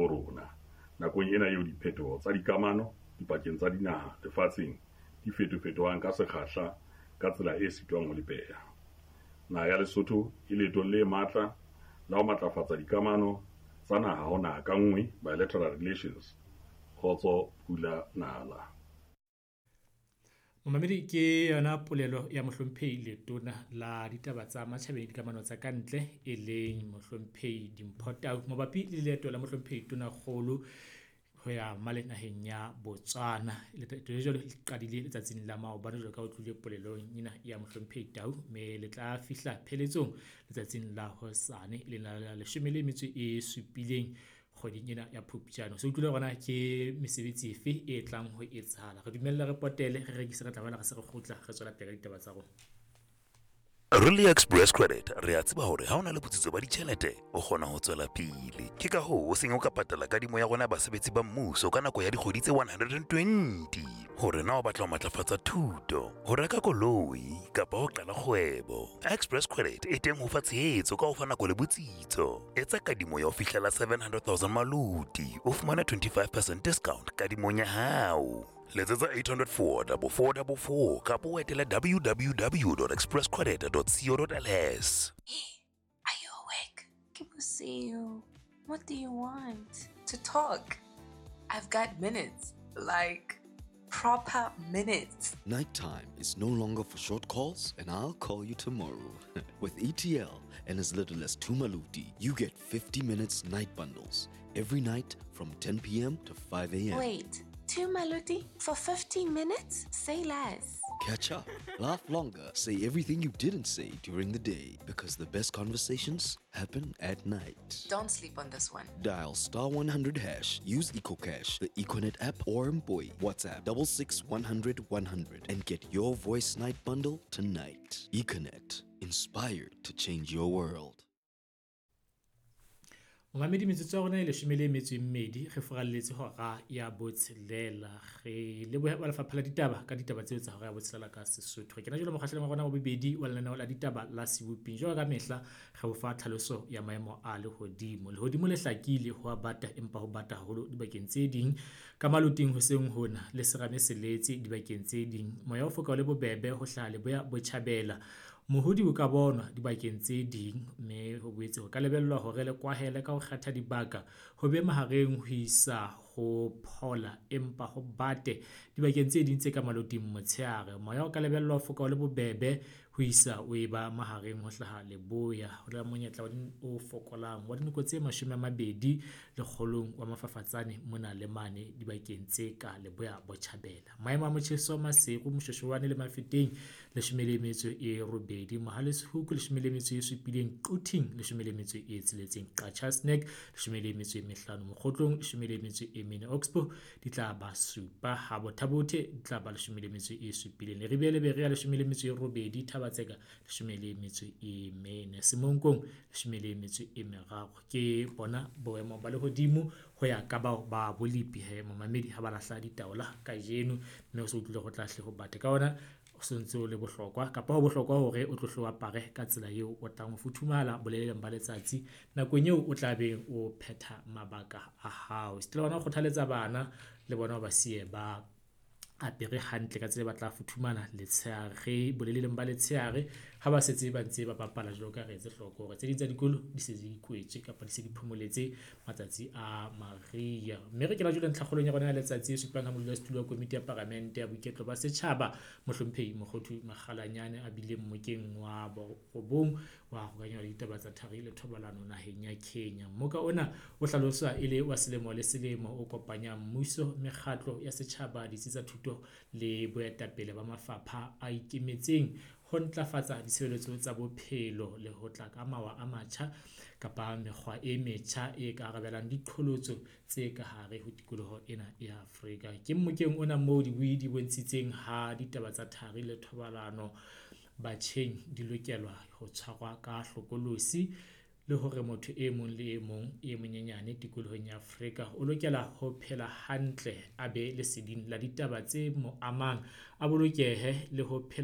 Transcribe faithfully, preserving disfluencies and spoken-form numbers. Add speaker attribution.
Speaker 1: habo rona nakong ena eo diphetoho tsa dikamano dipakeng tsa dinaha lefatsheng di fetofetohang ka sekgahla ka tsela e sitwang ho lepeha. Naha ya Lesotho e leetong le matla la ho matlafatsa dikamano tsa naha ho naha ka nngwe, bilateral relations. Kgotso pula nala.
Speaker 2: Momamedi, ke yona polelo ya mohlomphehi letona la ditaba tsa matjhabeng le dikamano tsa kantle, e leng mohlomphehi Dimpho Tau, mabapi le leeto la mohlomphehi Tonakgolo ho ya male naheng ya Botswana. Leeto le jwalo le qadile letsatsing la maobane jwalo ka o tlile polelong ena ya mohlomphehi Tau, mme le tla fihla pheletsong letsatsing la hosane, e leng la leshome le metso e supileng kgweding ena ya Phupjane. So utlwile hore na ke mesebetsi efe e tlang ho etsahala. Re dumelle re potele, re rekise, re tla boela re se re kgutla re tswela pele ka ditaba tsa rona.
Speaker 3: Really Express Credit re a tseba hore ha o na le botsitso ba ditjhelete o kgona ho tswela pele. Ke ka hoo o seng o ka patala kadimo ya rona basebetsi ba mmuso ka nako ya dikgwedi tse one hundred and twenty. Hore na o batla ho matlafatsa thuto, ho reka koloi kapa ho qala kgwebo, Express Credit e teng ho fa tshehetso ka ho fa nako le botsitso. Etsa kadimo ya ho fihlela seven hundred thousand maluti, o fumane twenty-five percent discount kadimong ya hao. Letsetsa eight hundred four four four four four kapa o etele w w w dot expresscredit dot co dot l s.
Speaker 4: Are you awake? Ke bosiu. What do you want? To talk. I've got minutes. Like, proper minutes.
Speaker 5: Nighttime is no longer for short calls, and I'll call you tomorrow. With E T L and as little as two maluti, you get fifty minutes night bundles every night from ten p m to five a m.
Speaker 4: Wait, two maluti for fifteen minutes? Say less.
Speaker 5: Catch up, laugh longer, say everything you didn't say during the day, because the best conversations happen at night.
Speaker 4: Don't sleep on this one.
Speaker 5: Dial star one hundred hash, use EcoCash, the Econet app, or Mboi. WhatsApp six six one hundred one hundred and get your voice night bundle tonight. Econet, inspired to change your world.
Speaker 2: Momamedi, metsotso ya rona e leshome le metso e mmedi re furalletse hora ya botshelela. Re lebohe ba lefapha la ditaba ka ditaba tseo tsa hora ya botshelela ka Sesotho. Re kena jwalo mokgahlelong wa rona wa bobedi wa lenaneo la ditaba la Seboping. Jwalo ka mehla re o fa tlhaloso ya maemo a lehodimo. Lehodimo le hlakile, ho a bata empa ho bata haholo dibakeng tse ding. Ka maloting hoseng hona le serame se letse dibakeng tse ding. Moya o foka o le bobebe ho hlaha leboya botjhabela. Mohodi o ka bonwa dibakeng tse ding, mme ho boetse ho ka lebellwa hore le kwahele ka ho kgetha dibaka ho be mahareng ho isa ho phola empa ho bate dibakeng tse ding tse ka maloting motshehare. Moya o ka lebellwa ho foka o le bobebe ho isa o eba mahareng ho hlaha leboya. Ho na le monyetla o fokolang wa dinoko tse mashome a mabedi lekgolong wa mafafatsane mona le mane dibakeng tse ka leboya botjhabela. Maemo a motjheso: Maseru, Moshoeshoane le Mafeteng leshome le metso e robedi, Mohale's Hoek leshome le metso e supileng, Quthing leshome le metso e tsheletseng, Qacha's Nek leshome le metso e mehlano, Mokhotlong leshome le metso e mene, Oxbow di tla ba supa, ha Botha-Bothe di tla ba leshome le metso e supileng, Leribe le Berea leshome le metso e robedi, Thaba-Tseka leshome le metso e mene, Semonkong leshome le metso e meraro. Ke bona boemo ba lehodimo ho ya ka bao ba bolepi he momamedi ha ba lahla ditaola kajeno, mme o se utlwile ho tla hle ho bate ka ona. O sontse o le bohlokwa kapa ho bohlokwa hore o tlo apare ka tsela eo o tlang ho futhumala boleleng ba letsatsi nakong eo o tla beng o phetha mabaka a hao. Esita le hona ho kgothaletsa bana le bona ba siye ba apere hantle ka tsela e batla futhumala letshehare, boleleng ba letshehare ha ba setse ba ntse ba bapala, jwalo ka re etse hloko hore tse ding tsa dikolo di se di kwetswe kapa di se di phomoletse matsatsi a mariha. Mme re kena jwale ntlhakgolong ya rona ya letsatsi e supang ha modulasetulo wa komiti ya paramente ya boiketlo ba setjhaba, mohlomphehi Mokgothu Makgalanyane, a bileng mmokeng wa borobong wa kgokahanyo le ditaba tsa thari le thobalano naheng ya Kenya. Mmoka ona o hlaloswa e le wa selemo le selemo o kopanyang mmuso, mekgatlo ya setjhaba, ditsi tsa thuto le boetapele ba mafapha a ikemetseng ho ntlafatsa ditshebeletso tsa bophelo le ho tla ka mawa a matjha kapa mekgwa e metjha e ka arabelang diqholotso tse ka hare ho tikoloho ena ya Afrika. Ke mmokeng ona moo dibui di bontshitseng ha ditaba tsa thari le thobalano batjheng di lokelwa ho tshwarwa ka hlokolosi, le hore motho e mong le e mong e monyenyane tikolohong ya Afrika o lokela ho phela hantle, a be leseding la ditaba tse mo amang, a bolokehe le ho phela.